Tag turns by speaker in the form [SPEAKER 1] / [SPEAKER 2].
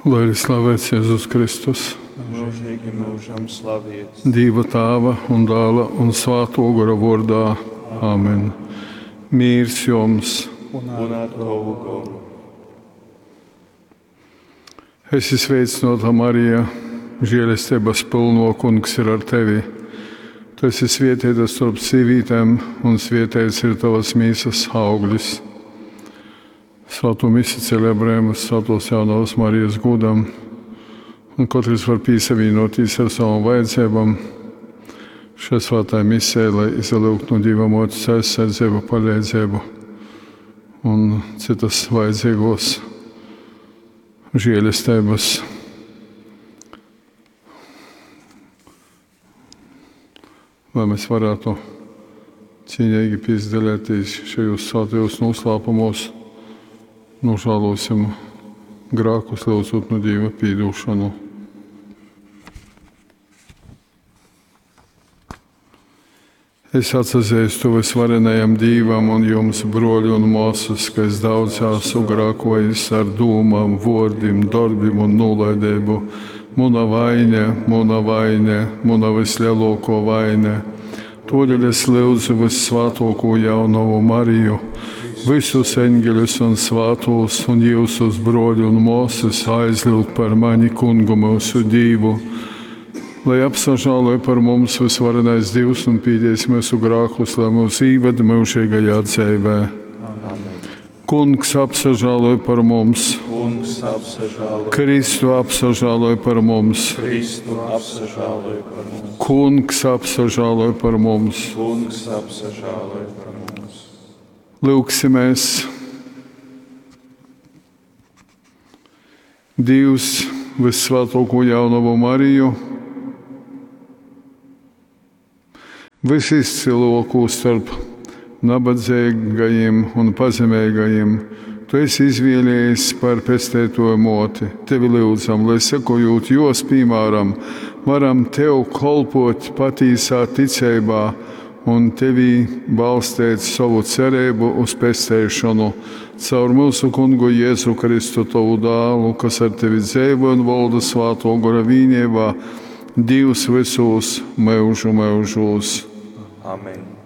[SPEAKER 1] Lai ir slavēts Jēzus Kristus,
[SPEAKER 2] Mūžīgi mūžam slaviets.
[SPEAKER 1] Dīva Tāva un Dāla un Svāto Gora vārdā. Āmen. Mīrs jums!
[SPEAKER 2] Un ar tavu goru.
[SPEAKER 1] Esi sveicināta, Marija, žēlestības pilno kungs ir ar tevi. Tu esi svētīta starp sīvītēm, un svētīts ir tavas mīsas auglis. Svēto misi celebrējam Svētos jaunavas Marijas gūdam, un katrs var pīsavīnoties ar savām vajadzībām. Šai svētai misē, lai izlūgtu no Dieva motes aizsardzību, palīdzību un citas vajadzīgos žēlestības. Lai mēs varētu cīnīgi piedalīties šajos svētajos noslēpumos, nožēlosim grēkus, lūdzot no Dieva piedošanu. Es atzīstu visvarenajam Dievam un jums, broļi un māsas, ka es daudz esmu grēkojis ar dūmām, vārdiem, darbiem un nolaidību. Muna vaine, muna vaine, muna vislielāko vaine. Todēļ es lūdzu vissvētāko jaunavu Mariju, visus eņģeļus un svētos un jūsus broļu un māsas aizlūgt par mani kungu mūsu Dievu. Lai apsažāloja par mums visvarenais Dievs un pīdies mūsu grākus, lai mūs īved mūžīgajā dzīvē. Kungs apsažāloja par mums,
[SPEAKER 2] Kungs apsažāloj.
[SPEAKER 1] Kristu apsažāloja par mums,
[SPEAKER 2] Kristu apsažāloj par mums.
[SPEAKER 1] Kungs apsažāloja par mums.
[SPEAKER 2] Kungs apsažāloj par mums.
[SPEAKER 1] Lūksimies! Dievs, visvētāko jaunavu Mariju, visizcilāko starp nabadzīgajiem un pazemīgajiem, tu esi izvēlējies par pestētoju moti. Tevi lūdzam, lai sekojot jos piemēram, varam tev kolpot patīsā ticībā un tevī balstīt savu cerību uz pestēšanu caur mūsu kungu Jēzu Kristu, tavu dēlu, kas ar tevi dzīvo un valda svāto gora vīnībā, Dievs visos mūžu mūžos.
[SPEAKER 2] Amen.